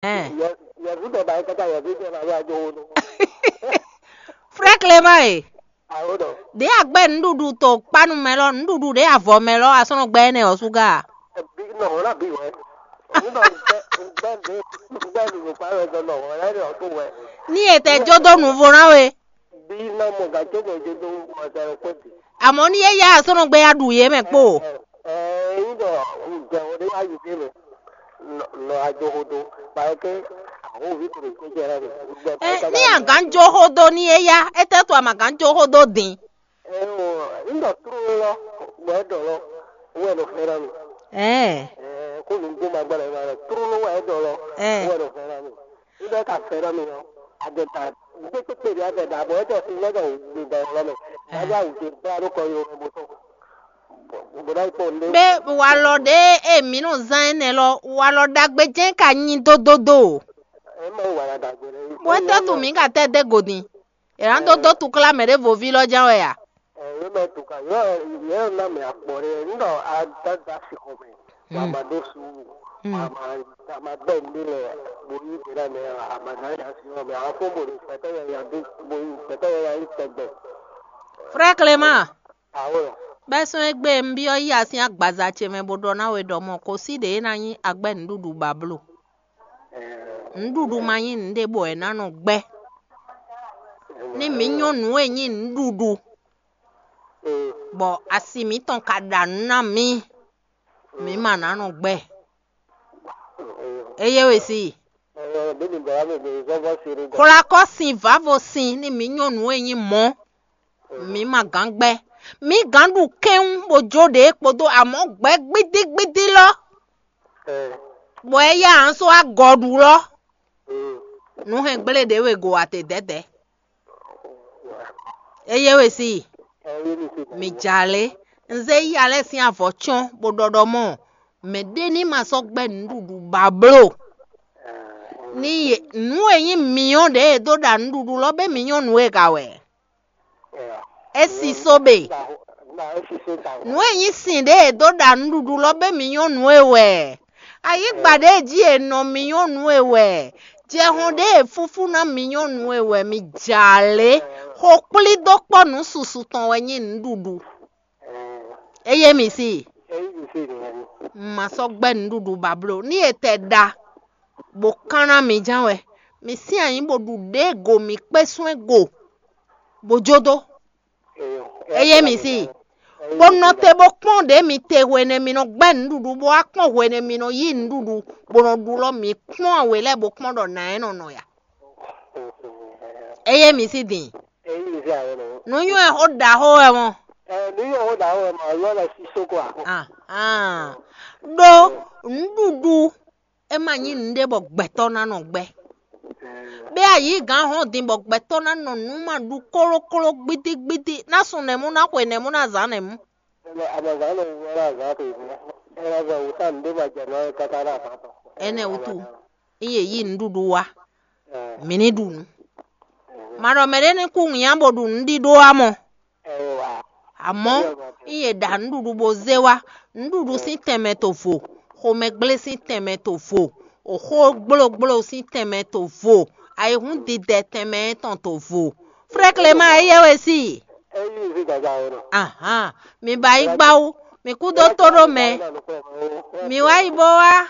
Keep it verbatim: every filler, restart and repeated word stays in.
Ɛn. Yɛvu ɖɔ ba yi kaka yɛvu ɖɔ ba wá jó wo nú. Frère Clément e, Awo ɖɔ. Ɖě a gbɛ́ nǔɖuɖu to kpánu mɛ lɔ, nǔɖuɖu ɖě avɔ mɛ lɔ, a sɔ́ nɔ gbɛ́ énɛ́ ɔ́ súgá a? Bi nɔ hɔn na bi wɛ. Nínú gbɛ gbɛ ɖe gbɛ ɖe kpa wɛ gbɛ nɔ hɔn na ɖe ɔtún wɛ. Ní e tɛ jó dó nǔvo ná we. Bi nɔ mɔ gǎ jó gbɛ jó dó mɔ sɛ kpé bi. Àmọ́ ní é yá a sɔ́ nɔ gbɛ́ ya ɖu yě mɛ kpó. Ɛ ɛ yín ɖɔ jɛ wo ɖe wá yi dé mɛ. Nɔ ajohodo kpayɔkɛ ahovi kò ɖo jẹjẹrẹ mi. Ɛ ní a gǎn jó xó dó ní é yá, é tɛ́ to a ma gǎn jó xó dó dín. Ɛ o, ŋdɔ tró lɔ bɔ é ɖɔ lɔ wɛ nɔ fɛ na mi. Ɛ Ɛ kó nu gbó ma gbɔdɔ ma lɔ tró lɔ wɛ é ɖɔ lɔ Ɛ. Wɛ nɔ fɛ na mi. Ŋdɔ ka fɛ na mi ɔ, adɛ ta gbé kpékpé ɖi adɛ da bɔ é tɛ fi lɔ dɔ gbé da lɔ mɛ. Ɛ. Aja wù dé bla ɖó kɔ yɔ mɛ bó tɔ. Bó dá kpɔ ndé. Bé walɔ ɖé e mǐ nɔ zán énɛ́ lɔ, walɔ ɖagbe jɛ́n ka nyí dódódó o. Ɛ ma wà la dàgbé lɛ. Bó é tɛ́ tu mǐ ka tɛ́ dé gǒdin. È nǎ dó dó tukla mɛ ɖěvo ví lɔ ján wɛ a? Ɛ yé mɛ tu ka yɔ yɛ na mɛ akpɔ ɖe ŋdɔ adada si xɔ mɛ. Wa ma ɖó suúlu. A ma a ma gbɛ ndé lɛ bo yí gbe na mɛ a ma na ya si xɔ mɛ a fɔ bo ɖe kpɛtɛ yɛ ya dó bo yí kpɛtɛ yɛ ya yí tɛgbɛ. Frère Clément, Awo lɔ. Bɛ́ sɔ́ égbé un byɔ́ yí asín agbaza ce mɛ bó ɖɔ ná we ɖɔ mɔ kǒ sí ɖě é ná nyí agbɛ́ nǔɖuɖu ba bló. Nǔɖuɖu ma nyí nǔɖé bɔ è nǎ nɔ gbɛ́. Ní mǐ nyɔ́ nǔ e nyí nǔɖuɖu, bɔ asi mǐtɔn ka ɖa nǔ ná mǐ, mǐ ma ná nɔ gbɛ́. Eye we si. Xwlakɔ sin vavo sin ní mǐ nyɔ́ nǔ e nyí mɔ̌, mǐ ma gǎn gbɛ́. Mǐ gǎn ɖu kɛ́nwú bó jó ɖě kpódó amɔ̌ gbɛ́ gbídígbídí lɔ, bɔ é yá aǎn só agɔ ɖu lɔ. Nǔ hɛn gblé ɖě we go ate dɛ̌dɛ̌. Eye we si. Mǐ ja lé. Un zé yí alɛ sín avɔ cyɔ́n bó ɖɔ ɖɔ mɔ mɛ̌ ɖé ní ma sɔ́ gbɛ́ nǔɖuɖu ba bló. Ní yě nǔ e nyí mǐnyɔ́ ɖě e dó ɖa nǔɖuɖu lɔ bɛ́ mǐnyɔ́ nǔ e ka wɛ. É si só be. Nǔ e nyí sin ɖě e dó ɖa nǔɖuɖu lɔ bɛ́ mǐnyɔ́ nǔ e wɛ. Ayǐgba ɖě jí è nɔ mǐnyɔ́ nǔ e wɛ. Jɛhɔn ɖě e fúfú ná mǐnyɔ́ nǔ e wɛ mi ja lě. Xo kplí dó kpɔ́ nǔ susu tɔn wɛ nyí nǔɖuɖu. Eye mi si. Ma sɔ́ gbɛ́ nǔɖuɖu ba bló ní e tɛ ɖa bó kán ná mi ján wɛ. Mi sín anyǐ bó ɖu ɖě go mi kpé sún ɛ go bó jó dó. Eye mi si. Bó nɔ te bó kpɔ́n ɖě mi te hwenu e mi nɔ gbɛ́ nǔɖuɖu bó wá kpɔ́n hwenu e mi nɔ yí nǔɖuɖu bó nɔ ɖu lɔ mi kpɔ́n awě lɛ́ɛ bó kpɔ́n ɖɔ nǎ ɛ nɔ nɔ ya. Eye mi si din. Nǔnywɛ́ xó ɖaxó wɛ mɔ. Nǔnywɛ́ xó ɖaxó wɛ mɔ, yɔ lɛ sísó kɔ a. Ahán. Ɖó nǔɖuɖu é ma nyí nǔɖé bɔ gbɛtɔ́ ná nɔ gbɛ́. Bɛ ayǐ gǎn hɔn din bɔ gbɛtɔ́ ná nɔ nǔ ma ɖu kólókóló gbídígbídí ná sun nɛ̌mú ná xwe nɛ̌mú ná zǎn nɛ̌mú. Amazan nɔ wú ɛlɛ azan to ìfún. Ɛlɛ azan wú tá nǔɖé ma jɛ nɔ káká ná àfá tɔ. Ɛnɛ wútu ń yě yí nǔɖuɖu wá, mǐ ní ɖu nǔ. Ma ɖɔ mɛ ɖé ní kú nya bó ɖu nǔɖíɖó wá mɔ. Amɔ̌, ń yě ɖa nǔɖuɖu bó zé wá. Nǔɖuɖu sín tɛnmɛ to vo, xomɛgblé sín tɛnmɛ to vo, xó gblógbló sín tɛnmɛ to vo, ayihún didɛ tɛnmɛ tɔn to vo. Frère Clément, éyɛ́ wɛ sí. Ahán, mi ba yi gbá wú, mi kú dó tó ɖó mɛ. Mi wá yi bó wá.